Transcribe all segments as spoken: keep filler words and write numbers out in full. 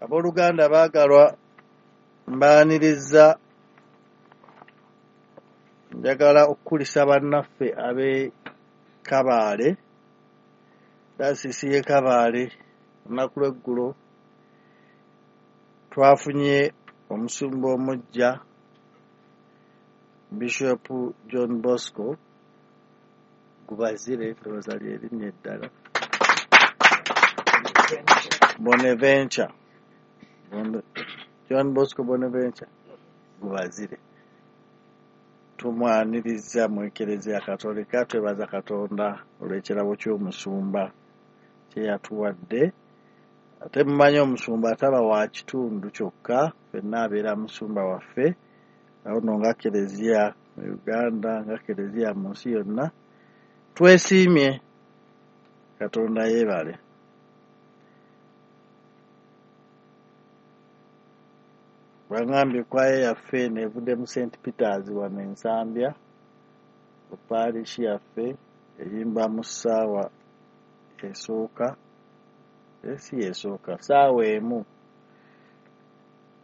Abooluganda baagalwa, mbaaniriza. Njagala okukulisa bannaffe ab'e Kabaale, dayosiisi y'e Kabaale. Olunaku lw'eggulo twafunye omusumba omuggya, Bishop John Bosco Gubazire, ndowooza lye linnya eddala, Bonaventure, John Bosco Bonaventure Gubazire. Tumwaniriza mu Ekereziya Katolika. Twebaza Katonda olw'ekirabo ky'omusumba kye yatuwadde. Ate mumanyi omusumba ataba wa kitundu kyokka, ffenna abeera musumba waffe. Awo nno nga Kereziya mu Uganda, nga Kereziya mu nsi yonna, twesiimye. Katonda yeebale. Baŋŋambye kwaya yaffe eno evudde mu Saint Peters wano e Nsambya, ku parish yaffe, eyimba mu ssaawa esooka, si esooka, ssaawa emu,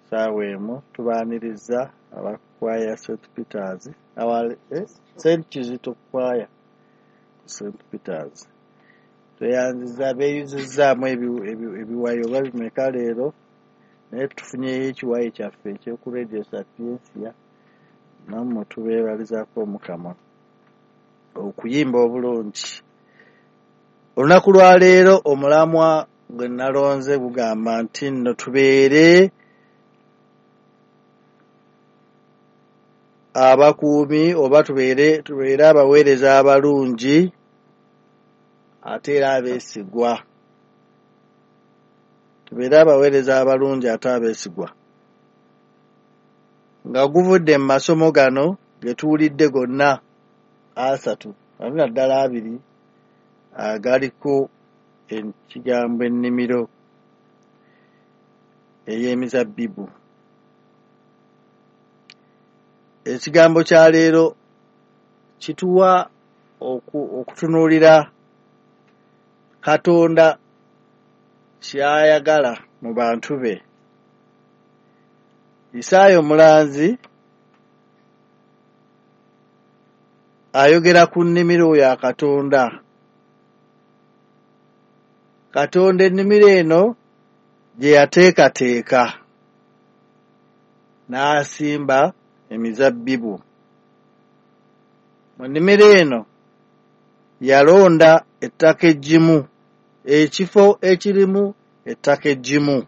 ssaawa emu. Tubaaniriza abakwaya Saint Peters, awa Saint Kizito kwaya Saint Peters. Tweyanziza, beeyuzizzaamu ebiwayi oba bimeka leero, naye tufunyeyo ekiwayi kyaffe eky'oku Radio Sapientia. Nammwe tubeebalizaako Omukama okuyimba obulungi. Olunaku lwa leero omulamwa gwe nalonze gugamba nti nno tubeere abakuumi oba tubeere tubeere abaweereza abalungi ate era abeesigwa. Tubeere abaweereza abalungi ate abeesigwa. Nga guvudde mu masomo gano ge tuwulidde gonna asatu, ate naddala abiri agaliko ekigambo ennimiro ey'emizabbibu. Ekigambo kya leero kituwa okutunuulira Katonda ky'ayagala mu bantu be. Isaaya omulanzi ayogera ku nnimiro ya Katonda. Katonda ennimiro eno gye yateekateeka n'asimba emizabbibu. Mu nnimiro eno yalonda ettaka eggimu, ekifo ekirimu ettaka eggimu,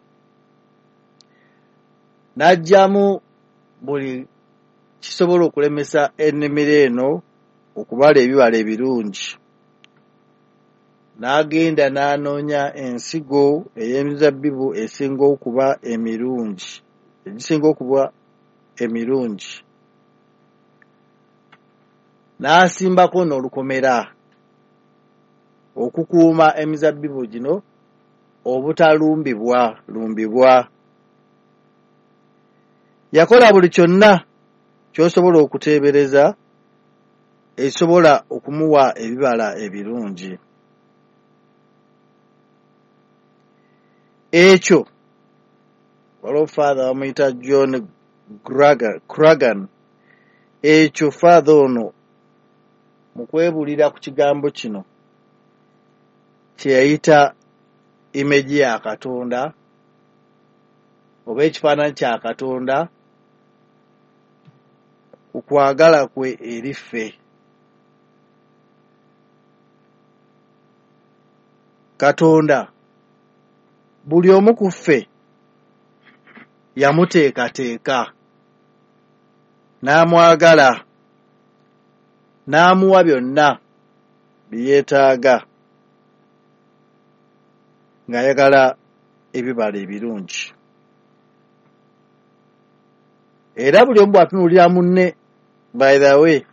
n'aggyamu buli kisobola okulemesa ennimiro eno okubala ebibala ebirungi. N'agenda n'anoonya ensigo ey'emizabbibu esinga okuba emirungi, egisinga okuba emirungi, n'asimbako n'olukomera okukuuma emizabbibu gino obutalumbibwa lumbibwa. Yakola buli kyonna ky'osobola okuteebereza ekisobola okumuwa ebibala ebirungi. Ekyo waliwo Father bamuyita John Cragan. Ekyo Father ono mu kwebuulira ku kigambo kino kye yayita image ya Katonda oba ekifaananyi kya Katonda ku kwagala kwe eri ffe. Katonda buli omu ku ffe yamuteekateeka n'amwagala n'amuwa byonna bye yeetaaga ng'ayagala ebibala ebirungi. Era buli omu bw'atunuulira munne, by the way,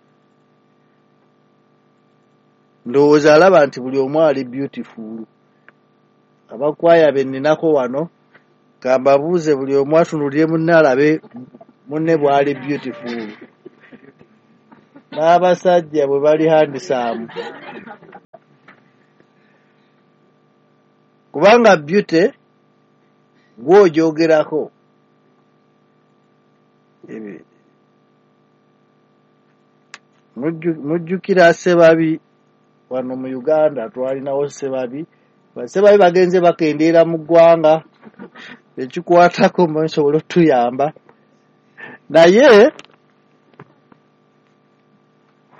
ndowooza alaba nti buli omu ali beautiful. Abakwaya be nninako wano ka mbabuuze, buli omu atunuulire munne alabe munne bw'ali beautiful, n'abasajja bwe bali handsome, kubanga beauty Gw'ogyogerako. Mujjukira Ssebabi wano mu Uganda, twalinawo Ssebabi. Ssebabi bagenze bakendeera mu ggwanga, ekikwatako nsobola otuyamba. Naye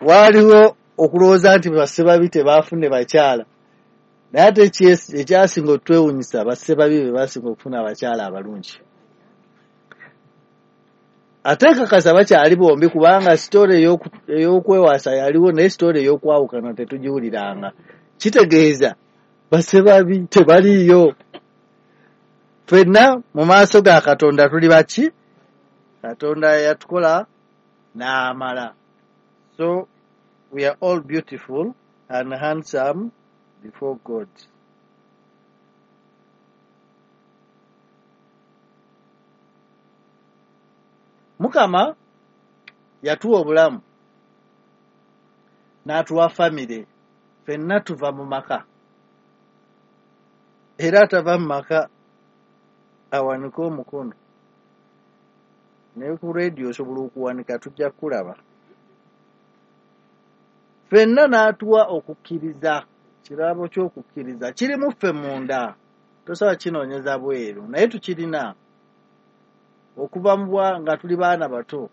waaliwo okulowooza nti Bassebabi tebaafune bakyala, naye ate ekyasinga otwewuunyisa Bassebabi be baasinga okufuna abakyala abalungi. Ate nkakasa bakyali bombi kubanga sitore ey'okwewasa yaliwo, naye sitore ey'okwawukana tetugiwuliranga. Kitegeeza Bassebabi tebaliiyo. Ffenna mu maaso ga Katonda tuli baki? Katonda yatukola n'amala. So we are all beautiful and handsome before God. Mukama yatuwa obulamu n'atuwa famire. Ffenna tuva mu maka, era atava mu maka awanike omukono. Naye ku rediyo osobola okuwanika, tujja kukulaba. Ffenna n'atuwa okukkiriza, kirabo ky'okukkiriza kiri mu ffe munda, tosobola kinoonyeza bweru, naye tukirina okuva mu bwa nga tuli baana bato.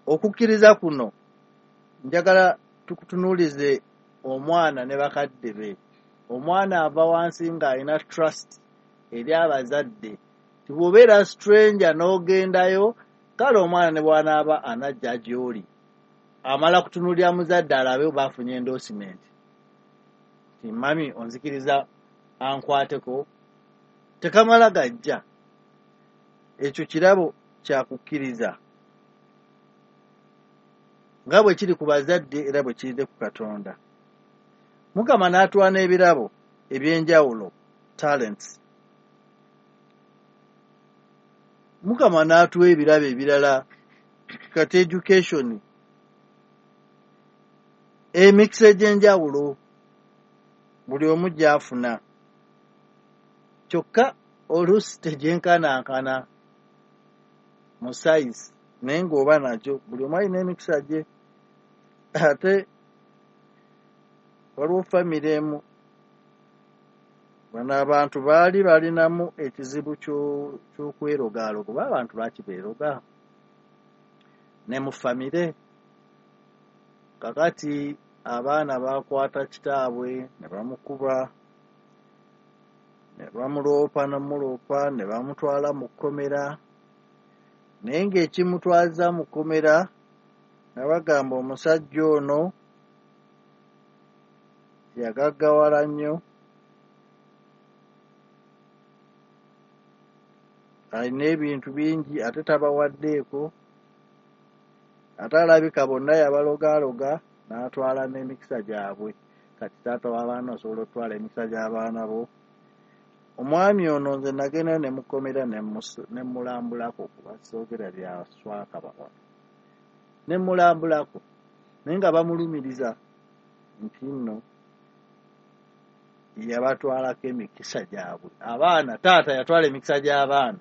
Okukkiriza kuno njagala tukutunuulize omwana ne bakadde be. Omwana ava wansi ng'alina trust eri abazadde. Bw'obeera stranger n'ogendayo, kale omwana ne bw'anaaba anajja gy'oli, amala kutunuulira muzadde alabe oba afunye endorsement. Nti mami onzikiriza ankwateko, tekamala gajja. Ekyo kirabo kya kukkiriza nga bwe kiri ku bazadde era bwe kiride ku Katonda. Mukama n'atuwa n'ebirabo eby'enjawulo, talents. Mukama n'atuwa ebirabo ebirala, kati education, emikisa egy'enjawulo buli omu gy'afuna, kyokka oluusi tegyenkanankana mu size, naye ng'oba nakyo buli omu alina emikisa gye. Ate waliwo famire emu, bano abantu baali balinamu ekizibu ky'okwerogaaloga, oba abantu lwaki beeroga ne mu famire. Kakati abaana baakwata kitaabwe ne bamukuba, ne bamuloopa n'omuloopa, ne bamutwala mu kkomera. Naye ng'ekimutwaza mu kkomera, nga bagamba omusajja ono yagaggawala nnyo, alina ebintu bingi ate tabawaddeeko, ate alabika bonna yabalogaaloga n'atwala n'emikisa gyabwe. Kati taata w'abaana osobola okutwala emikisa gy'abaana bo. Omwami ono nze nagenda ne mukomera ne mmulambulako, kuba soogera bya swakaba wano, ne mmulambulako, naye nga bamulumiriza nti nno yabatwalako emikisa gyabwe. Abaana, taata yatwala emikisa gy'abaana.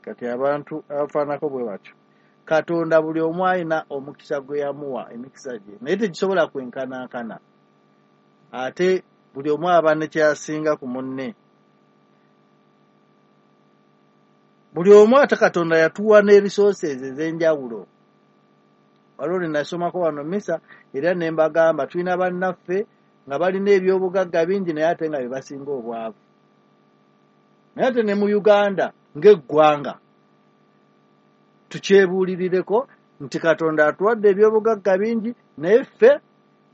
Kati abantu abafaanako bwe batyo. Katonda buli omu alina omukisa gwe yamuwa, emikisa gye, naye tegisobola kwenkanankana. Ate buli omu aba ne kyasinga ku munne. Buli omu ate Katonda yatuwa ne resources ez'enjawulo. Waliwo lwe nasomako wano misa era ne mbagamba tulina bannaffe nga balina ebyobugagga bingi naye ate nga be basinga obwavu. Naye ate ne mu Uganda ng'eggwanga tukyebuulirireko nti Katonda atuwadde ebyobugagga bingi naye ffe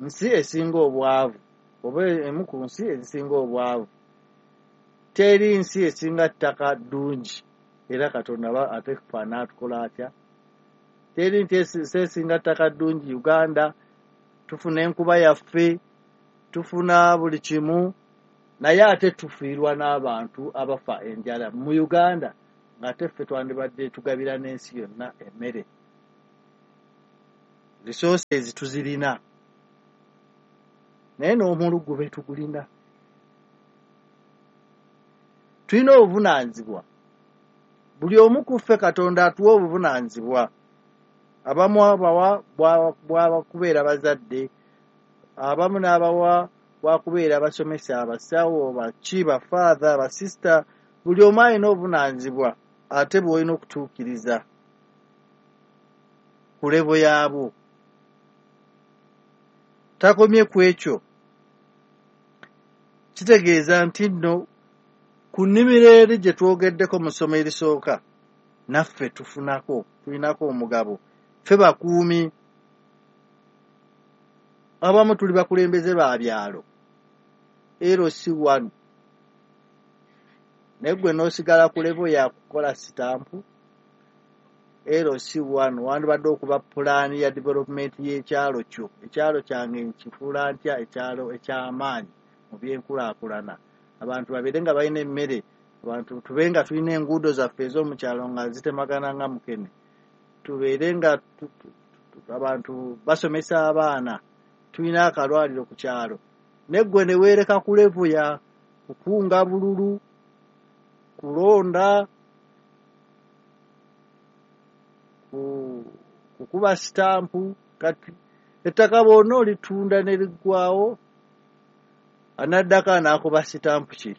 nsi esinga obwavu, oba emu ku nsi ezisinga obwavu. Teri nsi esinga ttaka ddungi, era Katonda ate ffe anaatukola atya? Teri nti esinga ttaka ddungi Uganda, tufuna enkuba yaffe, tufuna buli kimu, naye ate tufiirwa n'abantu abafa enjala mu Uganda, ng'ate ffe twandibadde tugabira n'ensi yonna emmere. Resources tuzirina, naye n'omulugube tugulina. Tulina obuvunaanyizibwa. Buli omu ku ffe Katonda atuwa obuvunaanyizibwa. Abamu abawa bwa kubeera bazadde, abamu n'abawa bwa kubeera basomesa, abasawo, baki, bafaatha, basisita. Buli omu alina obuvunaanyizibwa ate bw'olina okutuukiriza ku levo yaabwo. Takomye ku ekyo, kitegeeza nti nno ku nnimiro eri gye twogeddeko mu ssomo erisooka, naffe tufunako, tulinako omugabo. Ffe bakuumi, abamu tuli bakulembeze ba byalo, L C one, naye ggwe n'osigala ku levo ya kukola sitampu. L C one wandibadde okuba pulaani ya development y'ekyalo kyo. Ekyalo kyange nkifuula ntya ekyalo eky'amaanyi mu by'enkulaakulana, abantu babeere nga balina emmere, abantu tube nga tulina enguudo zaffe ez'omu kyalo nga zitemagana nga mukene, tubeere nga abantu basomesa abaana, tulina akalwaliro ku kyalo. Naye ggwe ne weereka ku levo ya kukunga bululu, kulonda, kukuba sitampu. Kati ettaka bw'onna olitunda ne liggwaawo, anaddako anaakuba sitampu ki?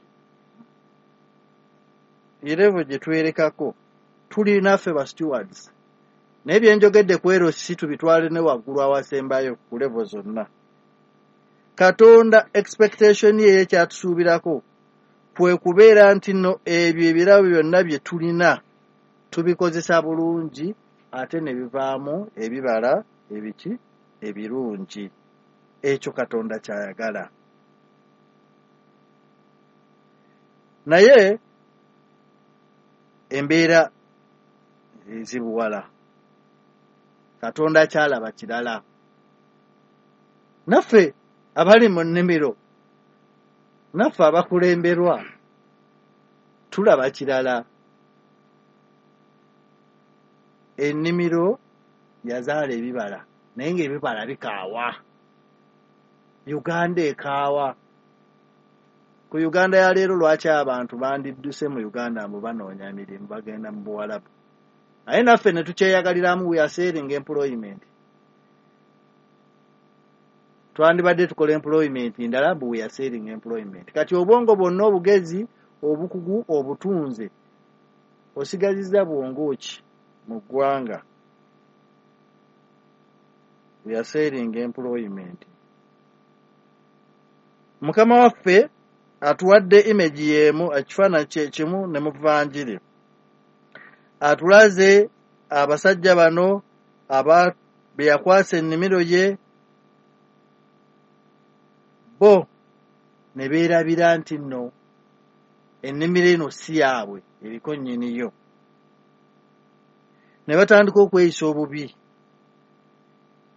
Erevo gye twerekako tuli naffe ba stewards. Naye bye njogedde ku L C tubitwale ne waggulu awasembayo ku levo zonna. Katonda expectation ye ekyatusuubirako kwe kubeera nti nno ebyo ebirabo byonna bye tulina tubikozesa bulungi ate ne bivaamu ebibala ebiki ebirungi. Ekyo Katonda ky'ayagala. Naye embeera ezibuwala, Katonda ky'alaba kirala. Naffe abali mu nnimiro, naffe abakulemberwa tulaba kirala. Ennimiro yazaala ebibala, naye ng'ebibala bikaawa. Uganda ekaawa. Ku Uganda ya leero lwaki abantu bandidduse mu Uganda mbu banoonya emirimu, bagenda mu Buwalabu? Naye naffe ne tukyeyagaliramu, we are selling employment. Twandibadde tukola employment ndala, mbu we are selling employment. Kati obwongo bwonna, obugezi, obukugu, obutunze, osigazizza bwongo ki mu ggwanga? We are selling employment. Mukama waffe atuwadde image y'emu, ekifaananyi kye kimu ne mu Vanjiri. Atulaze abasajja bano aba be yakwasa ennimiro ye, bo ne beerabira nti nno ennimiro eno si yaabwe, eriko nnyiniyo. Ne batandika okweyisa obubi,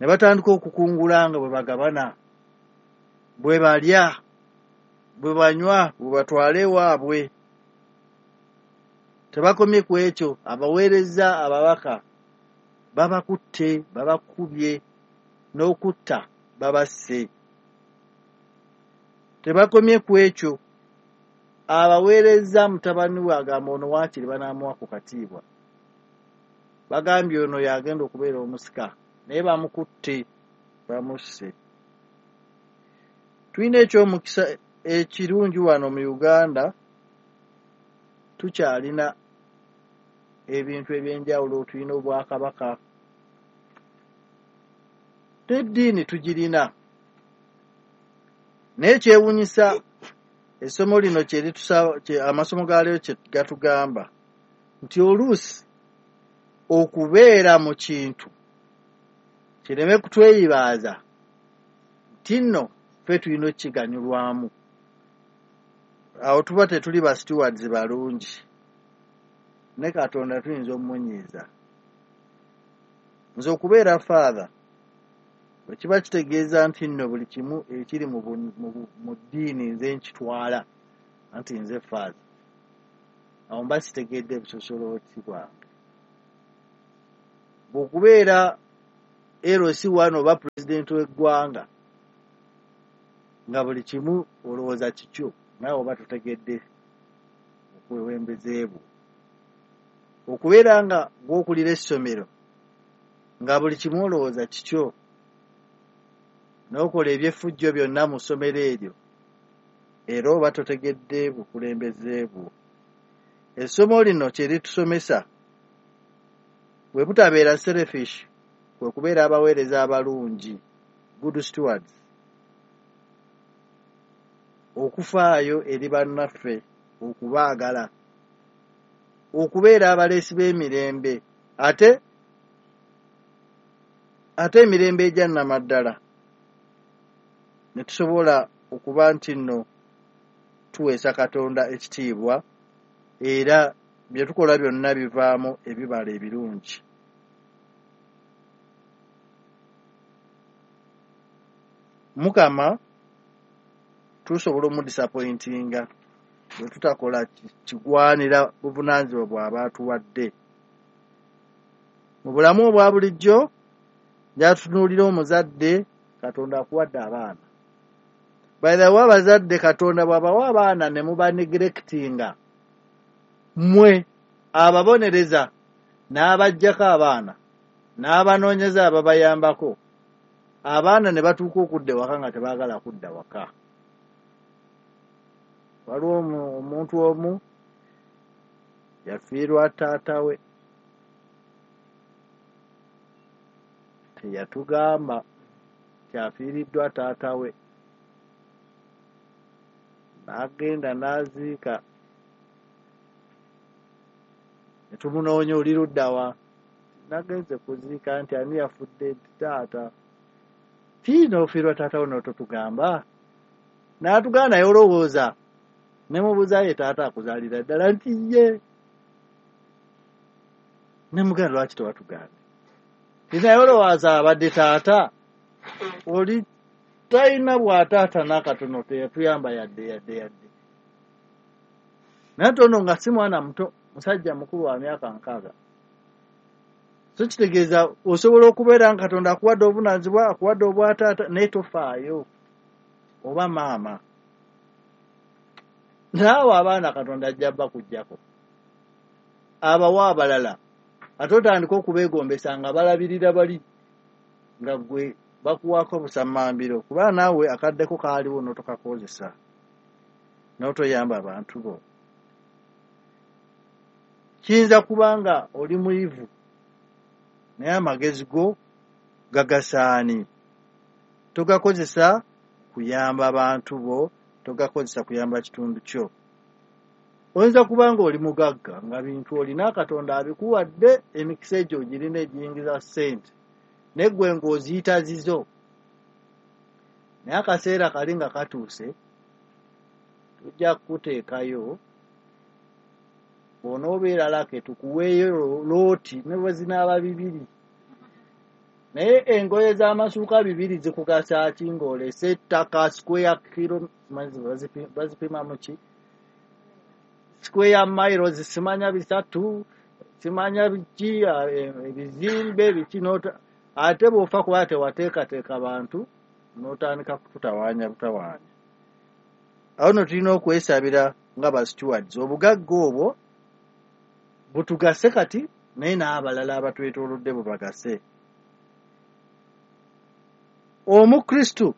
ne batandika okukungula nga bwe bagabana, bwe balya, bwe banywa, bwe batwala ewaabwe. Tebakomye ku ekyo, abaweereza ababaka babakutte, babakubye, n'okutta babasse. Tebakomye ku ekyo, abaweereza mutabani we agamba ono waakiri banaamuwa ku katiibwa. Bagambye ono y'agenda okubeera omusika, naye bamukutte, bamusse. Tulina ekyomukisa ekirungi wano mu Uganda, tukyalina ebintu ebyenjawulo, tulina obwakabaka, n'eddiini tugirina. Naye kyewuunyisa essomo lino kye litusaba, amasomo ga leero kye gatugamba nti oluusi okubeera mu kintu kireme kutweyibaaza nti nno ffe tulina okukiganyulwamu. Awo tuba tetuli ba stewards balungi, ne Katonda tuyinza omumunyiiza. Nze okubeera father bwe kiba kitegeeza nti nno buli kimu ekiri mu ddiini nze nkitwala, anti nze father, awo mba sitegedde busosolooti bwange. Bw'okubeera L C one oba pulezidenti w'eggwanga nga buli kimu olowooza kikyo, naawe oba totegedde bukulembeze bwo. Okubeera nga gw'okulira essomero nga buli kimu olowooza kikyo, n'okola eby'effujjo byonna mu ssomero eryo, era oba totegedde bukulembeze bwo. Essomo lino kye litusomesa bwe butabeera selfish, kwe kubeera abaweereza abalungi, good stewards, okufaayo eri bannaffe, okubaagala, okubeera abaleesi b'emirembe, ate ate emirembe egya nnamaddala, ne tusobola okuba nti nno tuweesa Katonda ekitiibwa, era bye tukola byonna bivaamu ebibala ebirungi. Mukama tusobola omudisappointinga bwe tutakola kigwanira buvunaanyizibwa bw'aba atuwadde. Mu bulamu obwa bulijjo gyatutunuulira omuzadde, Katonda akuwadde abaana. By the way, abazadde Katonda bw'abawa abaana ne muba neglectinga, mmwe ababonereza n'abaggyako abaana n'abanoonyeza ababayambako, abaana ne batuuka okudda ewaka nga tebaagala kudda waka. Waliwo omuntu omu yafiirwa taata we, teyatugamba kyafiiriddwa taata we, n'agenda n'aziika. Ne tumunoonya, oli ludda wa? Nagenze kuziika. Nti ani yafudde? Nti taata. Ti n'ofiirwa taata wo n'ototugamba? N'atugamba naye olowooza. Ne mubuuza, ye taata akuzaalira ddala? Nti ye. Ne mugamba, lwaki tewatugambye? Nti naye olowooza abadde taata oli talina bw'ataata n'akatono, teyatuyamba yadde yadde yadde. Naye tono nga si mwana muto, musajja mukulu wa myaka nkaaga. So kitegeeza osobola okubeera nga Katonda akuwadde obuvunaanyizibwa, akuwadde obwataata, naye tofaayo, oba maama. Naawe abaana Katonda ajja bakuggyako, abawa abalala, ate otandika okubeegombesa nga balabirira bali nga ggwe bakuwaako busammambiro, kuba naawe akaddeko kaaliwo n'otokakozesa n'otoyamba abantu bo. Kiyinza kuba nga oli muyivu naye amagezi go gagasaani, togakozesa kuyamba bantu bo, togakozesa kuyamba kitundu kyo. Oyinza kuba nga oli mugagga nga bintu olina Katonda abikuwadde, emikisa egyo ogirina egiyingiza ssente, naye ggwe ng'oziyita zizo. Naye akaseera kali nga katuuse, tujja kukuteekayo, bw'onoobeera lake tukuweeyo looti ne bwe zinaaba bibiri. Naye engoye z'amasuuka bibiri zikugasa ki ng'olese ettaka square kilo, bazipima mu ki? Square miles simanya bisatu, simanya biki, ebizimbe biki, ate bw'ofa kuba tewateekateeka bantu n'otandika kututawaanya butawaanya. Awo nno tulina okwesabira nga ba stewards, obugagga obwo butugase kati naye n'abalala abatwetoolodde bubagase. Omukristu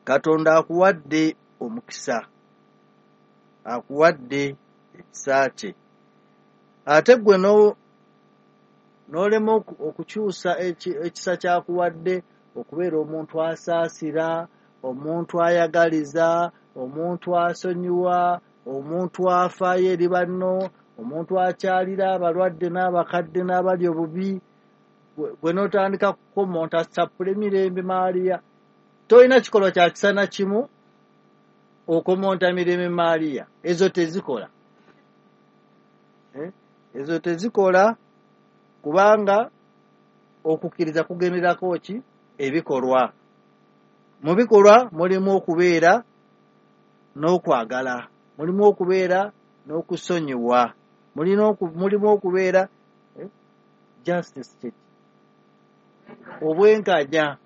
Katonda akuwadde omukisa, akuwadde ekisa kye, ate ggwe n'olema okukyusa ekisa ky'akuwadde okubeera omuntu asaasira, omuntu ayagaliza, omuntu asonyiwa, omuntu afaayo eri banno, omuntu akyalira abalwadde n'abakadde n'abali obubi, gwe n'otandika kukomonta sappula emirembe Maaliya. Tolina kikolwa kya kisa na kimu okomonta mirembe Maaliya, ezo tezikola. Ezo tezikola kubanga okukkiriza kugenderako ki? Ebikolwa. Mu bikolwa mulimu okubeera n'okwagala, mulimu okubeera n'okusonyiwa, mulimu okubeera justice, obwenkanya.